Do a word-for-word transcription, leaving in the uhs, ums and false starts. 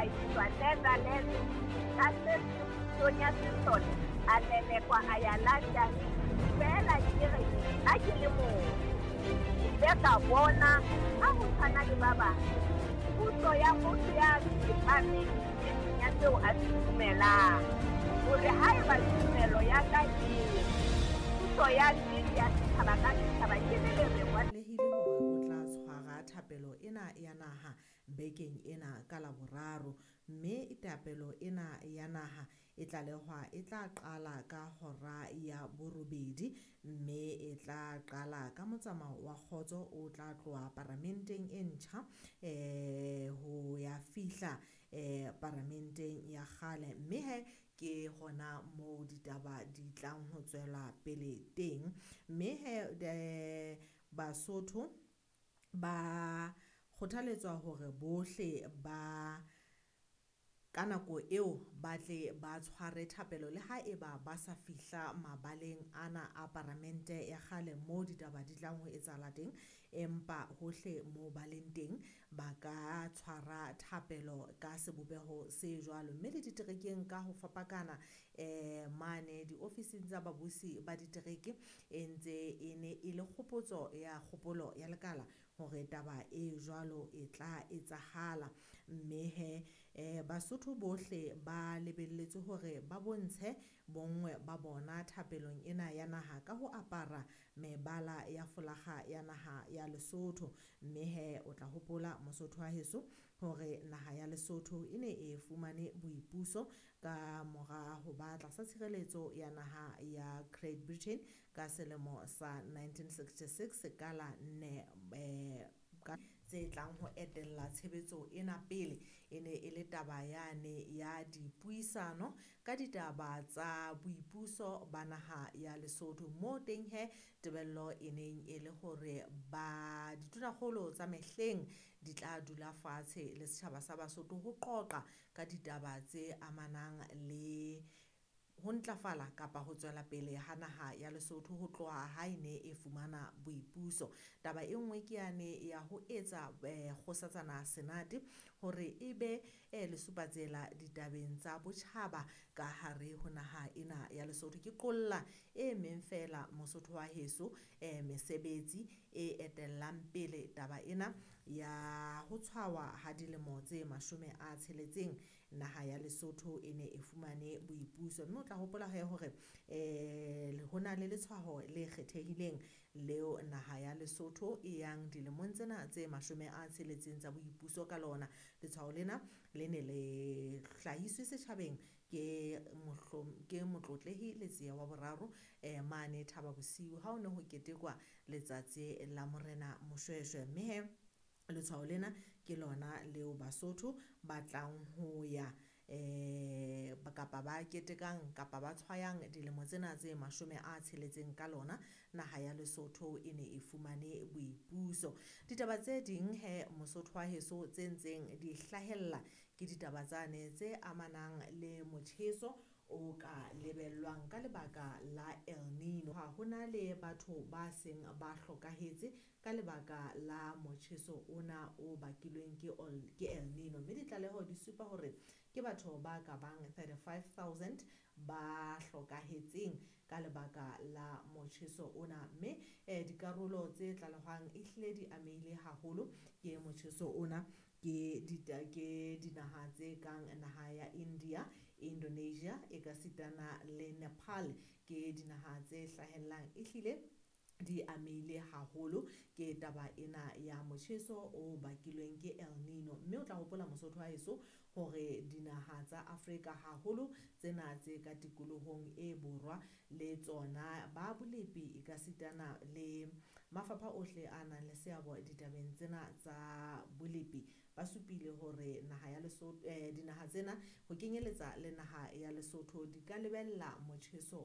a iswa Netherlands ka setse pusong ya sesole a lelekwa a ya London. Feela ke re nna ke le motho, ke ile ka bona ha ho tshwana le ba bang puso ya motho ya tsepameng nneteng ya seo a se dumelang, hore haeba tumelo ya ka e re puso ya nnete ya setjhaba ka setjhaba ke le lereko. Lehile hore o tla tshwara thapelo ena ya naha bekeng ena ka Laboraro, mme thapelo ena ya naha e tlalehwa e tla qala ka hora ya borobedi, mme e tla qala ka motsamao wa kgotso o tla tloha paramenteng e ntjha eh ho ya fihla eh paramenteng ya kgale, mme he ke hona moo ditaba di tlang ho tswela pele teng. Mme he eh Basotho ba kgothaletswa hore bohle ba ka nako eo ba tle ba tshware thapelo le ha eba ba sa fihla mabaleng ana a paramente ya kgale moo ditaba di tlang ho etsahala teng, empa hohle moo ba leng teng ba ka tshwara thapelo ka sebopeho se jwalo. Mme le diterekeng ka ho fapakana eh mane diofising tsa babusi ba ditereke e ntse e ne e le kgopotso ya kgopolo ya lekala hore taba e jwalo e tla etsahala. Mme he eh Basotho bohle ba lebelletswe hore ba bontshe bonngwe ba bona thapelong ena ya naha ka ho apara mebala ya folakga ya naha ya Lesotho. Mme he o tla hopola Mosotho wa heso hore naha ya Lesotho e ne e fumane boipuso ka mora ho ba tlasa tshireletso ya naha ya Great Britain ka selemo sa nineteen sixty-six ka la nne eh ka tse tlang ho etella tshebetso ena pele. E ne e le taba yane ya dipuisano ka ditaba tsa boipuso ba naha ya Lesotho, moo teng he tebello e neng e le hore ba ditonakgolo tsa mehleng di tla dula fatshe le setjhaba sa Basotho ho qoqa ka ditaba tse amanang le ho ntlafala kapa ho tswela pele ha naha ya Lesotho ho tloha ha e ne e fumana boipuso. Taba e nngwe ke yane ya ho etsa eh kgosatsana Senate hore e be eh lesupatsela ditabeng tsa botjhaba ka hare ho naha ena ya Lesotho. Ke qolla e meng feela Mosotho wa heso eh mesebetsi e etellang pele taba ena ya ho tshwawa ha dilemo tse mashome a tsheletseng naha ya Lesotho e ne e fumane boipuso. Mme o tla hopola he hore eh ho na le letshwaho le kgethehileng leo naha ya Lesotho e yang dilemong tsena tse mashome a tsheletseng tsa boipuso ka lona. Letshwaho lena le ne le hlahiswe setjhabeng ke mohlom ke Motlotlehi Letsie wa boraro eh mane Thaba Bosiu ha ho ne ho ketekwa letsatsi la Morena Moshweshwe. Mme he letshwao lena ke lona leo Basotho ba tlang ho ya eh kapa ba ketekang kapa ba tshwayang dilemo tsena tse mashome a tsheletseng ka lona naha ya Lesotho e ne e fumane boipuso. Ditaba tse ding he Mosotho wa heso tse ntseng di hlahella ke ditaba tsane tse amanang le motjheso o ka lebellwang ka lebaka la El Nino. Ha hona le batho ba seng ba hlokahetse ka lebaka la motjheso ona o bakilweng ke ke El Nino, mme ditlaleho di supa hore ke batho ba ka bang thirty-five thousand ba hlokahetseng ka lebaka la motjheso ona. Mme eh dikarolo tse tlalehwang e hlile di amehile haholo ke motjheso ona ke dita ke dinaha tse kang naha ya India, Indonesia ekasitana le Nepal. Ke dinaha tse hlahellang e hlile di amehile haholo ke taba ena ya motjheso o bakilweng ke El Nino. Mme o tla hopola Mosotho wa heso hore dinaha tsa Afrika haholo tsena tse ka tikolohong e borwa le tsona ba bolepi ekasitana le mafapha ohle a nang le seabo ditabeng tsena tsa bolepi ba supile hore naha ya Lesotho eh dinaha tsena ho kenyeletsa le naha ya Lesotho di ka lebella motjheso